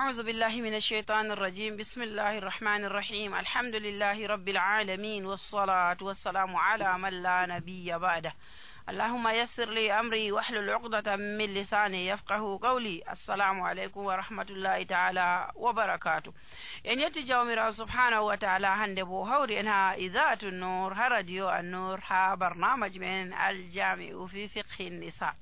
أعوذ بالله من الشيطان الرجيم. بسم الله الرحمن الرحيم. الحمد لله رب العالمين، والصلاة والسلام على من لا نبي بعده. اللهم يسر لي أمري واحلل عقدة من لساني يفقه قولي. السلام عليكم ورحمة الله تعالى وبركاته. إن يتجاو ميرا سبحانه وتعالى هندبو هوري إنها إذاعة النور، راديو النور، برنامج من الجامع في فقه النساء.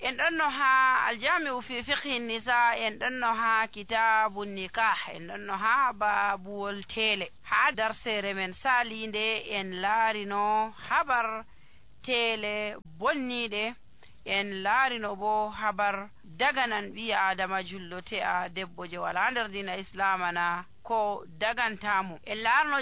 إن أنها الجامع في فقه النساء، إن أنها كتاب النكاح، إن أنها باب التيلي. هذا سير من سالين دي إن لارينو خبر tele bonnide en laarino bo habar daganan ɓi adama jullote a debbo je wala nder dina islamana ko dagantamo. en laarno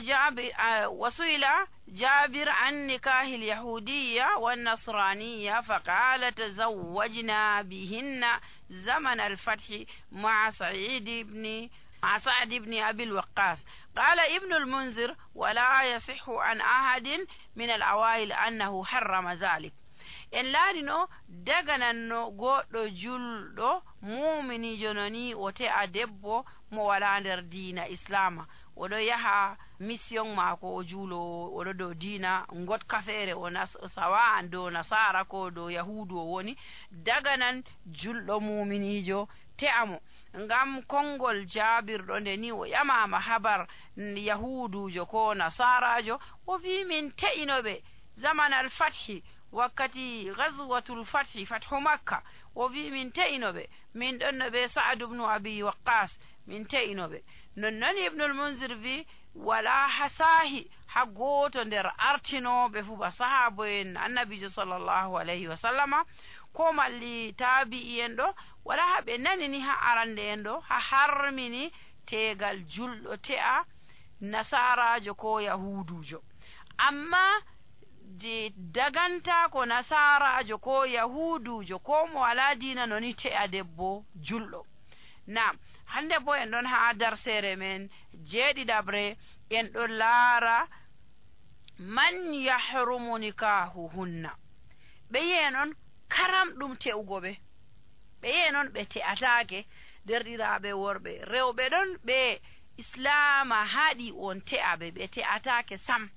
wasuila jabir an nikahil yahudiya wannasraniya faqala tazawwajna bihinna zaman alfathi ma'a سعد بن أبي الوقاص. قال ابن المنذر: ولا يصح عن أحد من الأوائل أنه حرم ذلك. en laarino dagananno goɗɗo julɗo mumini jononi o te'a debbo mo wala nder diina islama, oɗo yaha mission maako o juulo, oɗo dow diina gotka feere o sawa'an dow nasara ko dow yahudu o woni, daganan julɗo muminijo te'amo. ngam kongol jabirɗo nde ni o ƴamama habar yahudujo ko nasarajo, o wi min te'inoɓe zaman al fathi, wakkati ghazwatul fathi, fathu makka, o wi min te'inoɓe, min ɗonnoɓe Sa'd ibn Abi Waqqas, min te'inoɓe. nonnon ibnul munzir wi wala hasahi ha goto nder artinoɓe fu ba sahabo en annabijo sallallahu alayhi wa sallama ko malli tabi'i en ɗo, wala haɓe nanini ha arande en ɗo ha harmini tegal julɗo te'a nasarajo ko yahudujo. amma je daganta ko nasarajo ko yahudujo ko mo wala dina noni te'a debbo julɗo. Naam, hande bo en ɗon ha darsere men jeeɗiɗabre en ɗon laara man yahrumu nikahuhunna. ɓe yi'e noon karam ɗum te'ugo ɓe yi'e noon ɓe te'atake. derɗiraɓe worɓe rewɓe ɗon ɓe islama haɗi on te'aɓe, ɓe te'atake sam.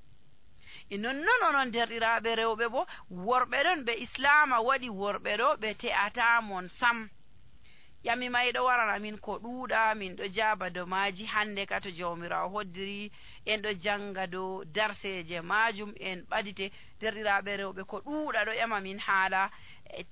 nonnon onon derɗiraɓe rewɓe bo worɓe ɗon ɓe islama waɗi worɓe ɗo ɓe te'atamon sam. yami mayɗo warana min ko ɗuuɗa, min ɗo jaba do maji hande ka to jawmirawo hoddiri en ɗo janga do darseje majum en ɓadite. derɗiraɓe rewɓe ko ɗuuɗa ɗo ƴama min haala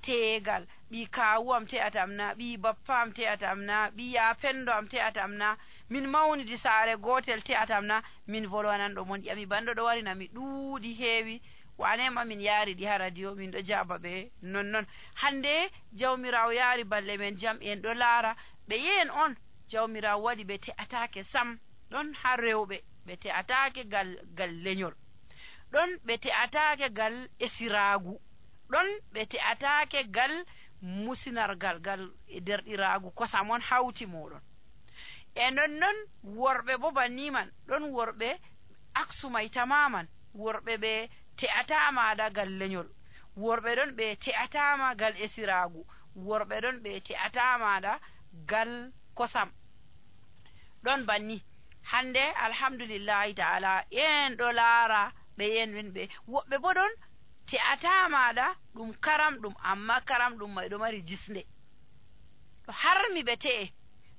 tegal ɓi kawu am te'atamna, ɓi bappa am te'atamna, ɓi ya pendo am te'atamna, min mawnidi saare gotel te'atamna, min volwanan ɗo mon. ƴami banɗo ɗo warina mi ɗuuɗi heewi, wanema min yaari ɗi ha radio, min ɗo jaba ɓe nonnon. hande jawmirawo yaari balle men jam, en ɗo laara ɓe yeen on jawmirawo waɗi ɓe te'atake sam. ɗon ha rewɓe ɓe te'atake gal leñol, ɗon ɓe te'atake gal esiragu, ɗon ɓe te'atake gal musinargal, gal derɗiragu kosam on hawti moɗon. e nonnon worɓe bo banniman, ɗon worɓe aksumay tamaman, worɓe ɓe te'atama gal leñol, worɓe ɗon ɓe te'atama gal esiragu, worɓe ɗon ɓe te'atama gal kosam. ɗon banni hande alhamdulillahi ta'ala en ɗo laara ɓe yen ɓe woɓɓe bo ɗon te'atama ɗum karam ɗum, amma karam ɗum may ɗo mari jisnde, ɗo harmi ɓe te'e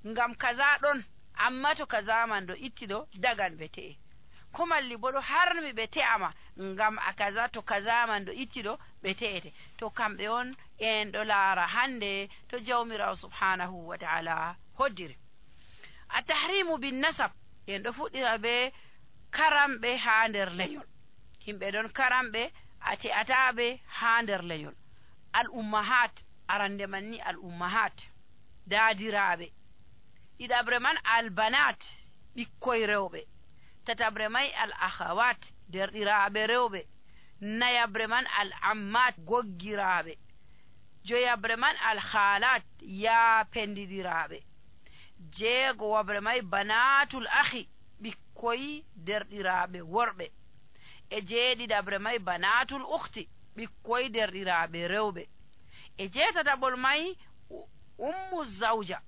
ngam kaza ɗon, amma to kaza man ɗo itti ɗo dagan ɓe te'e. ko malli bo ɗo harmi ɓe te'ama ngam a kaza, to kaza man ɗo itti ɗo ɓe te'ete. to kamɓe on en ɗo laara hande to jawmirawo subhanahu wa ta'ala hoddiri. a tahrimu bin nasab, en ɗo fuɗɗira ɓe karamɓe ha nder leñol. himɓe ɗon karamɓe a te'ataɓe ha nder leñol. al ummahat, arande man ni al ummahat daadiraɓe. ɗiɗabre man al banat, ɓikkoy rewɓe. tatabre may al akhawat, derɗiraɓe rewɓe. nayabre man al ammat, goggiraɓe. joyabre man al khalat, ya pendidiraɓe. jeegowabre may banatul akhi, ɓikkoy derɗiraɓe worɓe. e jeeɗiɗabre may banatul ukhti, ɓikkoy derɗiraɓe rewɓe. e jeetataɓol may ummu zawja,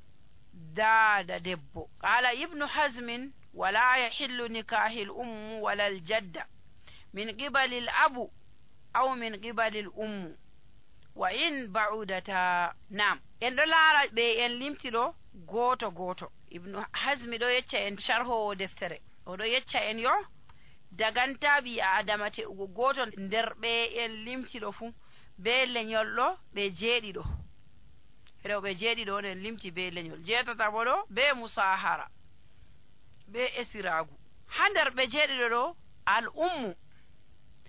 daada debbo. Qala ibnu hazmin wala yahillu nikahil ummu walal jadda min qibalil abu aw min qibalil ummu wa in ba'udata. Nam en ɗo laara ɓe en limti ɗo goto goto. Ibnu hazmi ɗo yecca en sharhowo deftere oɗo yecca en yo daganta ɓi adama te'ugo goto nder ɓe en limti ɗo fu be lenyol ɗo ɓe jeeɗiɗo, rewɓe jeeɗiɗo on en limti be lenyol, jeetata bo ɗo be musahara be esiragu. Ha nder ɓe jeeɗiɗo ɗo al ummu